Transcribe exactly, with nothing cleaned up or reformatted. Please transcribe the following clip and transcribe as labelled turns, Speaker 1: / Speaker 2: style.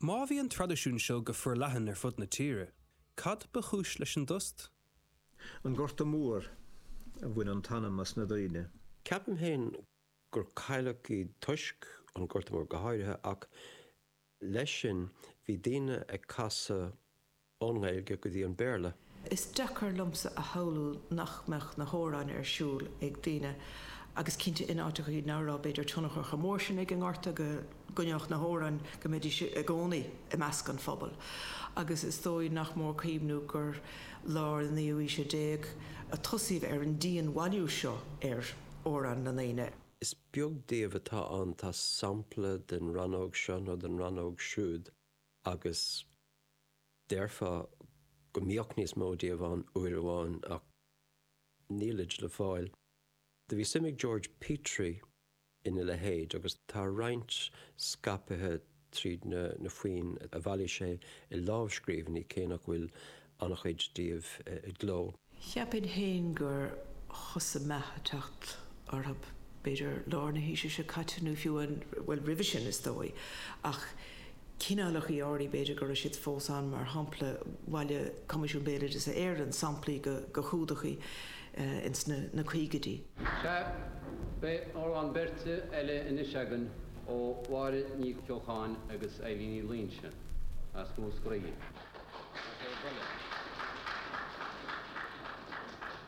Speaker 1: Má bhí an traidisiún seo go forleathan ar fud na tíre, cad ba chúis leis an dtost?
Speaker 2: An Gorta Mór a bhain an t-ainm as na daoine.
Speaker 3: Ceapaim féin gur cailleadh iad toisc an Gorta Mór go háirithe ach leis sin bhí daoine ag casadh ón nGaeilge go dtí an Béarla.
Speaker 4: Is deacair liomsa a shamhlú nach mbeadh na hamhráin ar siúl ag daoine agus cinnte in áiteachaí nach raibh b'fhéidir tionchar chomh mór sin ag an ngorta go gcoinneodh na hamhráin go mbeidís i gcónaí i measc an phobail. Agus is dóigh nach mór cuimhniú gur lár na naoú haoise déag a tosaíodh ar an dianbhailiú seo ar amhráin na ndaoine.
Speaker 3: Is beag díobh atá ann tá sampla den rannóg seo nó den rannóg siúd agus déarfá go mbíodh níos mó díobh ann uair amháin ach nílid le fáil. Do bhí suim ag George Petrie ina leithéid agus tá roinnt scaipthe tríd na, na foinn a bhailigh sé i lámhscríbhinní cé nach bhfuil an-chuid díobh i gcló.
Speaker 4: Cheapfainn féin gur thosaigh meath ag teacht orthu b'fhéidir lár na haoise seo caite nó fiú an bhuel roimhe sin is dóigh ach cineálacha áirithe b'fhéidir go raibh siad fós ann mar shampla bhailigh Coimisiún Béaloideasa Éireann samplaí de chumhdachaí ins na na caogaidí.
Speaker 5: Sea, beidh amhrán beirte eile anois againn ó Mháire Ní Cheocháin agus Eilín Ní Loingsigh as Múscraí.